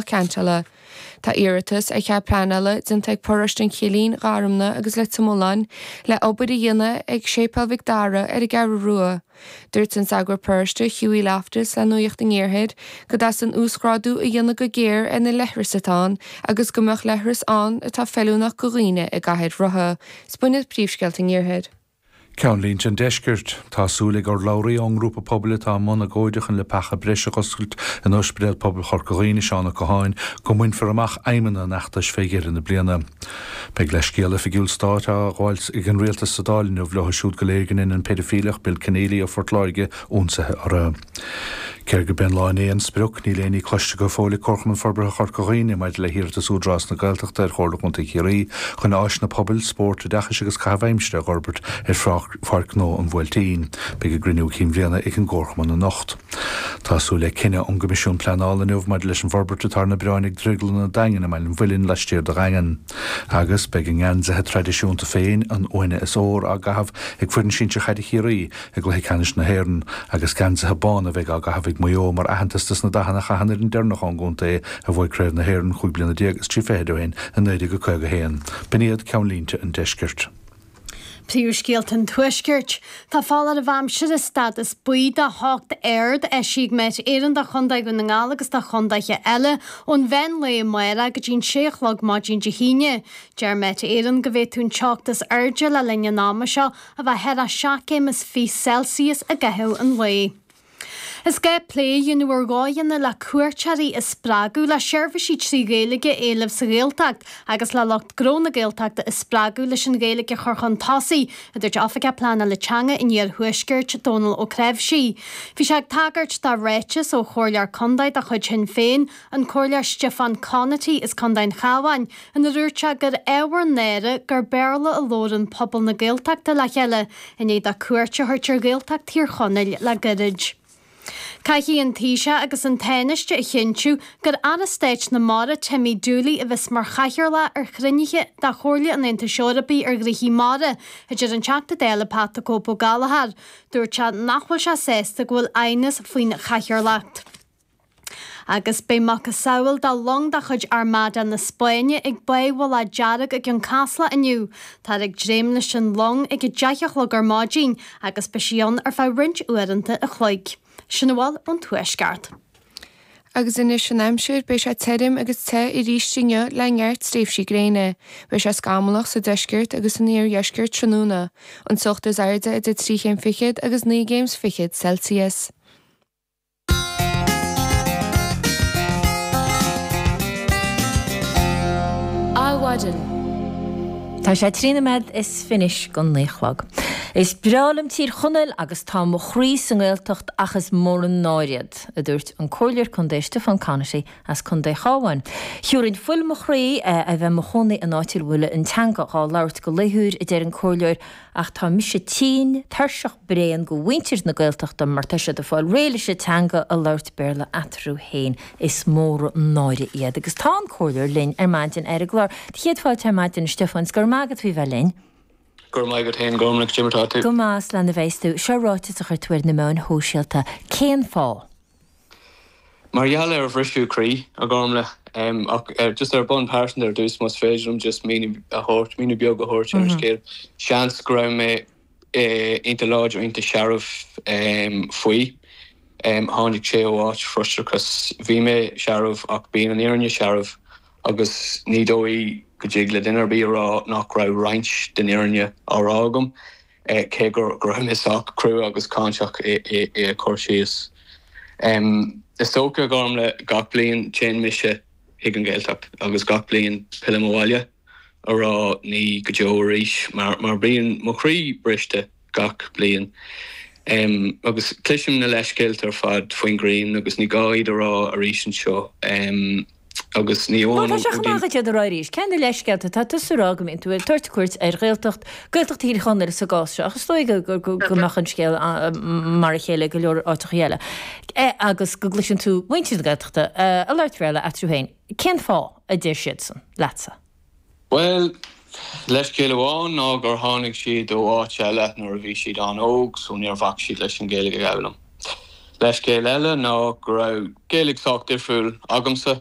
Ceantála. Tá iarratas ar chead pleanála déanta ag Paróiste an Chillín, Gharumna agus Leitir Mealláin le obair a dhéanamh ag Séipéal Mhic Dara ar an gCeathrú Rua. Dúirt an sagart paróiste Hughie Loftus le Nuacht an Iarthair go dteastaíonn uasghrádú a dhéanamh go géar ar na leithris atá ann agus go mbeadh leithreas ann atá feiliúnach go dhaoine i gcathaoir rotha. 'S b'in iad príomhscéalta an Iarthair. Ceannlínte an Deiscirt. Tá súil ag urlabhraí ón ngrúpa pobail atá i mbun agóide chun leapacha breise a dh'oscailt in Ospidéal Pobail Chorca Dhuibhne, Seán Ó Catháin, go mbainfear amach aidhmeanna an fheachtais fé dheireadh na bliana. Beidh leithscéal oifigiúil stáit á ghabháil ag an Rialtas sa Dáil inniu leo siúd go léir go ndein an peidifíleach Bill Kenneally ó Phort Láirge ionsaithe orthu. Cé gurb é an lá inné an sprioc, níl aon ní cloiste go fóill ag Comharchumann Forbartha Chorca Dhuibhne maidir le hiarratas Údarás na Gaeltachta ar Chomhairle Chontae Chiarraí chun áiseanna pobail, spóirt, oideachais agus caitheamh aimsire a dh'fhorbairt ar Pháirc Ghnó an Bhuailtín. Beidh a gcruinniú cinn bhliana ag an gComharchumann anocht. Tá súil le cinneadh ón gCoimisiún Pleanála inniu maidir leis an bhforbairt atá ar na bioráin ag Drioglann an Daingin i mBaile an Mhuilinn laistiar de Dhaingean. Agus beidh a ngeansaithe traidisiúnta féin, an uaine is ór, á gcaitheamh ag foireann sinsir chaide Chiarraí i gcluiche ceannais na hÉireann, agus geansaithe bána a bheidh á gcaitheamh ag Maigh Eo mar aitheantas dos na dathanna a chaith an fhoireann deireanach ón gcontae a bhuaigh Craobh na hÉireann 15 bliana is 30 fichid ó shin i 1951. B'in iad ceannlínte an deiscirt. Príomhscéalta an Tuaiscirt. Tá foláireamh aimsire stádas buí de theocht ard eisithe ag Met Éireann do Chontae Dhún na nGall agus do chontaetha eile ón mheán lae amárach go dtí an sé a chlog maidin Dé hAoine. Deir Met Éireann go bhféadfadh an teocht is airde le linn an ama seo a bheith thar a 7 gcéim is 20 Celsius i gcaitheamh an lae. Is gá plé a dhéanamh ar dhóigheanna le cuairteoirí a spreagadh le seirbhísí 3 Ghaeilge a éileamh sa Ghaeltacht agus le lucht gnó na Gaeltachta a spreagadh leis an Ghaeilge a chur chun tosaigh, a dúirt Oifigeach Pleanála Teanga an Iarthuaiscirt, Dónal Ó Cnáimhsí. Bhí sé ag tagairt do ráiteas ó Chomhairleoir Contae de chuid Shinn Féin, an Comhairleoir Stiofán Conaty as Contae an Chabháin, ina ndúirt sé gur ábhar náire gur Béarla a labhrann pobal na Gaeltachta le chéile i ndiaidh dó cuairt a thabhairt ar Ghaeltacht Thír Chonaill le gairid. Caithfidh an Taoiseach agus an Tánaiste a chinntiú gur Aire Stáit na Mara Timmy Dooley a bheas mar chathaoirleach ar chruinnithe de Chomhairle an Aontais Eorpaigh ar Ghnoithí Mara, a deir an Teachta Dála Pat 'The Cope' Ó Gallchóir. Dúirt sé nach bhfuil sé sásta go bhfuil aighneas faoin chathaoirleacht. Agus beidh macasamhail de long de chuid Armada na Spáinne ag Báigh Mhullach Dearg i gCionn Caslach inniu. Táthar ag dréim leis an long ag 10 a chlog ar maidin agus beidh sí ann ar feadh roinnt uaireanta a chloig. Sin a bhfuil ón Tuaisceart. Agus anois an aimsir, beidh sé tirim agus te arís inniu le neart tréimhsí gréine. Beidh sé scamallach sa deisceart agus san iardheisceart tráthnóna. An teocht is airde idir trí chéim fichead agus naoi gcéim 's fichead Celsius. Adhmhaidin. Tá sé 13 nóiméad anois don 9 a chlog. Is breá liom Tír Chonaill agus tá mo chroí sa nGaeltacht ach is mór an náire iad, a dúirt an Comhairleoir Contae Stiofán Conaty as Contae Chabháin. Thiúrfainn fuil mo chroí a bheith mo chónaí in áit a bhfuil an teanga dhá labhairt go laethúil, a deir an Comhairleoir, Ach tá mise tinn, tuirseach, bréan go mhuintir na Gaeltachta mar tá siad ag fáil réidh leis an teanga a labhairt Béarla eatarthu féin. Is mór an náire iad. Agus tá an Comhairleoir linn ar maidin ar an gclár. Do chéad fáilte ar maidin, a Stiofáin, 's go raibh maith agat faoi bheith linn. Go raibh maith agat féin, Gormlaith, cad é mar atá tú? Go maith, slán a bheas tú. Seo ráiteas a chuir tú ar na meáin shóisialta. Cén fáth? Mar gheall ar bhriseadh croí, a Ghormlaith, ach just ar bhonn pearsanta ar dtús, más féidir liom just míniú a thabhairt, míniú beag a thabhairt ar an scéal. Seans go raibh mé iontach láidir, iontach searbh faoi. Tháinig sé ó áit frustrachas. Bhí mé searbh ach bíonn an fhírinne searbh agus ní dóigh go dtig le duine ar bith a rá nach raibh roinnt den fhírinne á rá agam. cé go raibh mé sách crua agus cáinteach i cur síos. Is dócha, a Ghormlaith, gach bliain téann mise chuig an Ghaeltacht agus gach bliain pillim abhaile a rá ní go deo arís mar mar bíonn mo chroí briste gach bliain. Agus cloisim na leithscéalta ar fad faoin ghrian agus ní gá iad a rá arís anseo. Agus ní amháin ó. Tá sé chomh maith duit iad a rá arís. Cén na leithscéalta? Tá tusa ag rá go mbíonn tú ag tabhairt cuairt ar Ghaeltacht, Gaeltacht Thír Chonaill sa gcás seo, ach is dóigh go mbeadh an scéal mar a chéile i go leor áiteacha eile, agus go gcloiseann tú muintir na Gaeltachta ag labhairt Béarla eatarthu féin. Cén fáth, a deir siadsan leatsa? Bhuel, leithscéal amháin ná gur tháinig siad ó áit eile nuair a bhí siad an-óg so níor bhac siad leis an Ghaeilge a fhoghlaim. Leithscéal eile ná go raibh Gaeilge sách difriúil agamsa.